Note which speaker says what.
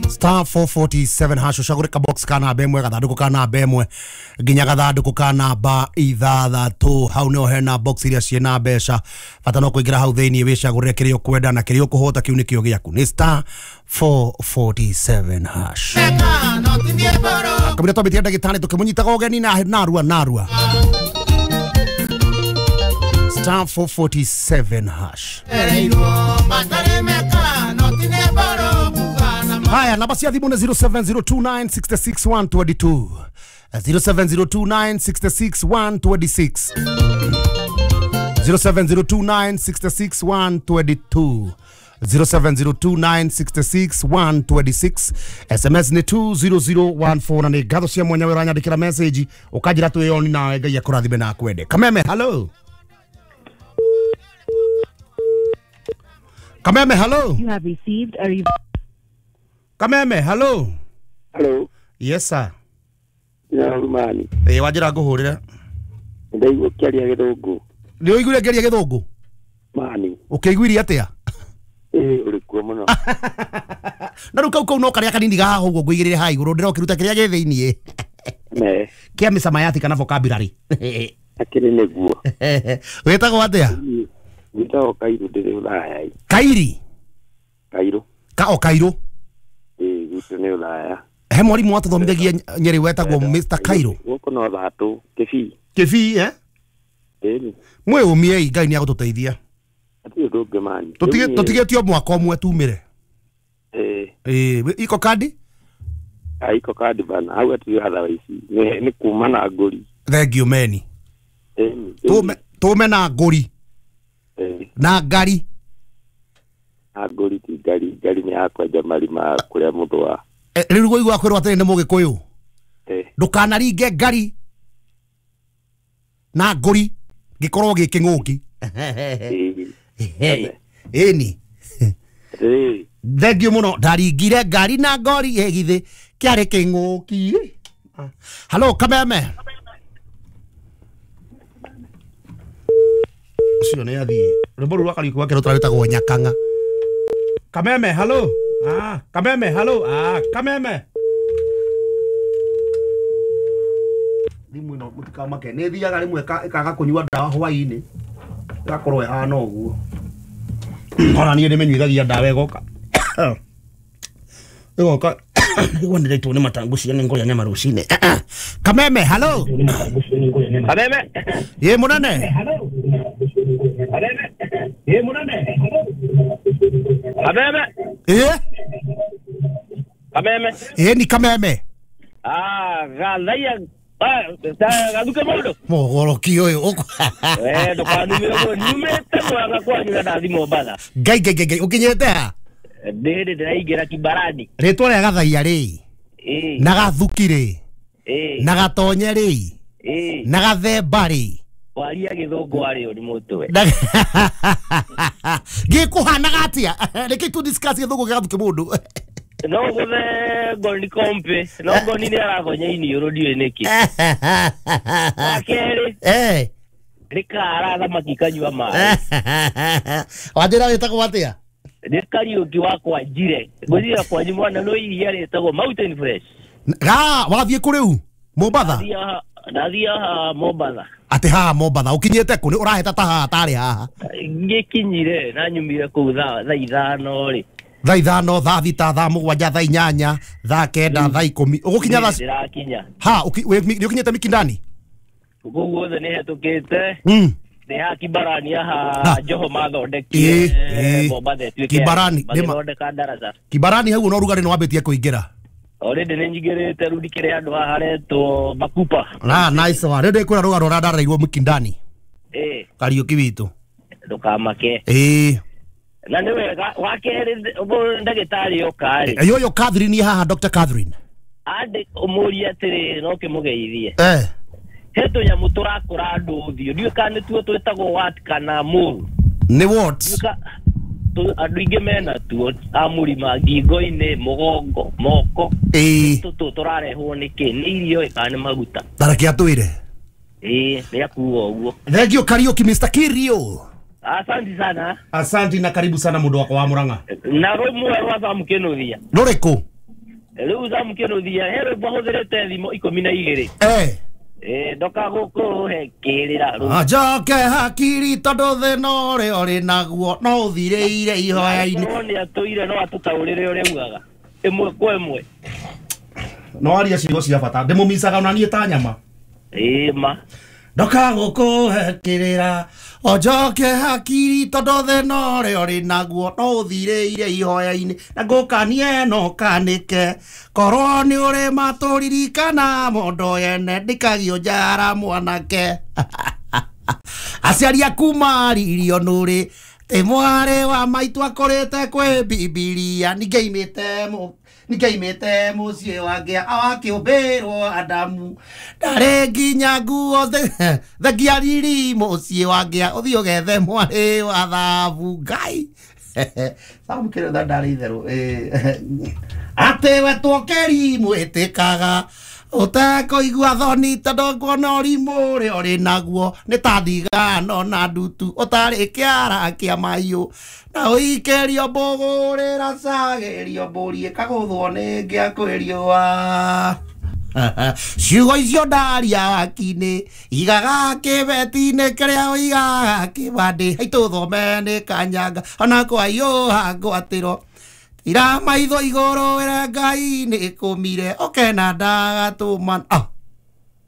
Speaker 1: Star 447 hash ucagũre ka box ka namba ĩmwe gathandũkũ ka namba ĩmwe nginya gathandũkũ ka namba ithathatũ. Hau nĩho hena box iria ciĩna mbeca, bata no kũingĩra hau thĩinĩ wĩcagũrĩre kĩrĩa ũkwenda na kĩrĩa ũkũhota kĩu nĩkĩo gĩaku. Nĩ star 447 hash. Kamĩra twambĩtie ndagĩtarĩ tũkĩmũnyitaga ũgeni na narua narua. Star 447 hash. Haya, namba cia thimũ nĩ 0702966122, 0702966126, 0702966122, 0702966126. SMS nĩ 20014 na nĩ ngatho cia mwanya we ũranyandĩkĩra message ũkanjĩra twĩyoni nawe. Ngai akũrathime na akwende. Kameme, hello. Kameme, hello.
Speaker 2: You have received a
Speaker 1: Kameme, hello.
Speaker 3: Hello.
Speaker 1: Yes sir.
Speaker 3: Ya Rumani.
Speaker 1: Eh, wanjĩra ngũhũrĩre.
Speaker 3: Ndaigua ũkĩaria gĩthũngũ.
Speaker 1: Nĩ ũiguire ngĩaria gĩthũngũ?
Speaker 3: Mani.
Speaker 1: Ũkĩiguirie atĩa?
Speaker 3: Ĩĩ, ũrĩ kuo mũno.
Speaker 1: Na rĩu kau kau no karĩa kanini gahaha ũguo ngũigĩrĩre haha igũrũ ndĩrokĩruta kĩrĩa gĩ thĩiniĩ.
Speaker 3: Me.
Speaker 1: Kĩa mĩcamayati kana vocabulary.
Speaker 3: Akĩrĩ nĩguo.
Speaker 1: Wĩtagwo atĩa?
Speaker 3: Wĩtagwo Kairu, ndĩrĩ Ũraya.
Speaker 1: Kairi?
Speaker 3: Kairu.
Speaker 1: Ka o Kairu?
Speaker 3: Ĩĩ, gwitũ nĩ Ũraya.
Speaker 1: He mwarimu watũthomithagia Nyeri wetagwo Mr. Kairu.
Speaker 3: Gũkũ no Thatũ, Kĩbii.
Speaker 1: Kĩbii, eh?
Speaker 3: Ĩni.
Speaker 1: Mwĩũmiei, Ngai nĩ agũtũteithia.
Speaker 3: Hatirĩ ũndũ ũngĩ mani.
Speaker 1: Tũtigĩtio mwaka ũmwe tumĩre.
Speaker 3: Ĩĩ.
Speaker 1: Ĩĩ, iko kandi?
Speaker 3: Iko kandi bana, hau hatirĩ watha ici. Nĩ kuma na ngũri.
Speaker 1: Thank you meni.
Speaker 3: Ĩni.
Speaker 1: Tũme na ngũri. Na ngari.
Speaker 3: Na ngũri ti ngari, ngari nĩ ya kwenja marima kũrĩa mũndũ wa.
Speaker 1: Rĩu ngũigua kwĩrwo atĩrĩ nĩ Mũgĩkũyũ. Ndũkanaringe ngari na ngũri gĩkorwo gĩ kĩng'ũki. Ĩni. Thank you mũno. Ndaringire ngari na ngori ĩgithĩ kĩarĩ kĩng'ũki. Hello Kameme. Ũcio nĩ athiĩ. Rwĩmbo rũu rwa Kariũki gwake rũtwarĩtagwo Nyakang'a. Kameme, hello. Ah, Kameme, hello. Ah, Kameme. Thimũ ĩno mũtikamake nĩ ĩthiaga rĩmwe ĩkaga kũnyua ndawa hwaĩ-inĩ ĩgakorwo ĩhana ũguo. Ona niĩ ndĩmĩnyuithagia ndawa ĩgoka ĩgoka igua ndĩraitwo nĩ matangu cia nĩ ngũrĩa nyama rũcinĩ. Kameme, hello.
Speaker 3: Kameme.
Speaker 1: Ĩ mũnene.
Speaker 3: Kameme. Ĩ mũnene. Kameme.
Speaker 1: Ĩ?
Speaker 3: Kameme.
Speaker 1: Ĩ ni Kameme.
Speaker 3: Ah, gathaia gathuke mũndũ.
Speaker 1: Mũgũrũki ũyũ.
Speaker 3: Eh, ndũkanume ũguo, nyumĩte mwanga kwanyu na ndathi Mombatha.
Speaker 1: Ngai ngai ngai, ũkinyĩte ha?
Speaker 3: Ndĩrĩ ndĩraingĩra Kibarani.
Speaker 1: Rĩtwa rĩa Gathaia rĩ. Na Gathuki rĩ. Na Gatonye rĩ. Na Gathemba rĩ.
Speaker 3: Waria gĩthũngũ warĩo nĩ mũtwe.
Speaker 1: Gĩkũhanaga atĩa? Reke tu discuss gĩthũngũ gĩa Gathuki mũndũ.
Speaker 3: No gũthe ngoni kompe, no ngoni nĩ aragonya iniũrũ ndiũĩ nĩkĩ. Wa kerĩ. Nĩ kara thamaki kanyua maĩ.
Speaker 1: Wanjĩra wĩtagwo atĩa?
Speaker 3: Nĩ Kariũki wakwa Njire. Ngwĩciria kwanyu mwana no iria rĩtagwo Mountain Fresh.
Speaker 1: Ga, wathiĩ kũ rĩu? Mombatha?
Speaker 3: Ndathiĩ haha Mombatha.
Speaker 1: Atĩ haha Mombatha, ũkinyĩte kũ? Nĩ ũrahĩta ta haha tarĩ haha.
Speaker 3: Ngĩkinyire na nyumire kũu thaa ithano rĩ.
Speaker 1: Thaa ithano, thaa thita, thaa mũgwanja, thaa inyanya, thaa kenda, thaa ikũmi. Ũgũkinya thaa
Speaker 3: Ndĩrakinya.
Speaker 1: Ha, nĩ ũkinyĩte Mikindani?
Speaker 3: Kũu guothe nĩ hetũkĩte. Nĩ haha Kibarani haha Joho mathondekire Mombatha ĩtuĩke
Speaker 1: Kibarani,
Speaker 3: magĩthondeka ndaraca.
Speaker 1: Kibarani hau no ũrugarĩ nĩ wambĩtie kũingĩra.
Speaker 3: Already nĩ nyingĩrĩte rĩu ndikĩrĩ handũ haha haretwo Makupa.
Speaker 1: Ah, nice one. Rĩu ndĩkwĩra rũgano rũrĩa ndareirwo Mikindani. Kariũki witũ.
Speaker 3: Ndũkamake. Na nĩ wega wa kerĩ ndagĩtarĩ oka rĩ.
Speaker 1: Ũyũ Catherine haha, Dr. Catherine.
Speaker 3: Andĩ ũmũrie atĩrĩrĩ no kĩmũgeithie. He tũnyamũ tũrakũra andũ ũthiũ ndiũĩ kana nĩtuo twĩtagwo wat kana mũru.
Speaker 1: Nĩ what?
Speaker 3: Andũ aingĩ mena tuo a mũrima ngingo-inĩ, mũgongo, moko. Tũtũ tũrarehwo nĩkĩ? Nĩ irio kana nĩ maguta?
Speaker 1: Tareke atwĩre.
Speaker 3: Ĩĩ, nĩ akuga ũguo.
Speaker 1: Thank you Kariũki, Mr. Kirio.
Speaker 3: Asante sana.
Speaker 1: Asante na karibu sana mũndũ wakwa wa Murang'a.
Speaker 3: Na rũmwe rwa Sam Kĩnuthia.
Speaker 1: Rũrĩkũ?
Speaker 3: Rĩu Sam Kĩnuthia he rwĩmbo ahũthĩrĩte thimo 12. Ndoka gũkũhe kĩrĩra rũu.
Speaker 1: Njoke hakiri tondũ thĩna ũrĩa ũrĩ naguo no ũthirĩire ihoya-inĩ.
Speaker 3: Korwo nĩ atũire no atũtaũrĩre ũrĩa augaga ĩmwe kwa ĩmwe.
Speaker 1: No aria ciugo cia bata ndĩmũmicaga ona niĩ ta nyama.
Speaker 3: Ĩĩ ma.
Speaker 1: Ndoka gũkũhe kĩrĩra o njoke hakiri tondũ thĩna ũrĩa ũrĩ naguo no ũthirĩire ihoya-inĩ na ngũkanie no kanĩke korwo nĩ ũrĩ matũririkana mondo yene ndikagio njara mwanake. Aciari aku maririo nũrĩ tĩ mwarĩ wa maitũ akũrĩte kwĩ Bibilia ningĩimĩte mũciĩ wake awakĩũmbĩrwo Adamu ndarĩ nginya nguo thengia riri mũciĩ wake ũthiĩ ũgethe mwarĩ wa thabu Ngai. Sam Kĩnuthia ndarĩ itherũ atĩ we twokeri mwĩtĩkaga ũtekũigua thoni tondũ nguona ũrimũ ũrĩa ũrĩ naguo nĩ ta ndigano na ndutu ũtarĩ kĩara kĩa mahiũ na ũikĩrio mbũgũrĩra cagĩrio mbũri ĩkagũthwo nĩ ngĩa kwĩ riũa. Ciugo icio ndaria waki-inĩ igaga kĩbeti-inĩ kĩrĩa ũigaga kĩbandĩ haitũthome nĩ kanyanga ona kwaiyũha ngwatĩro ira maitho igũrũ wĩre Ngai nĩ kũmire ũkena ndagatũma.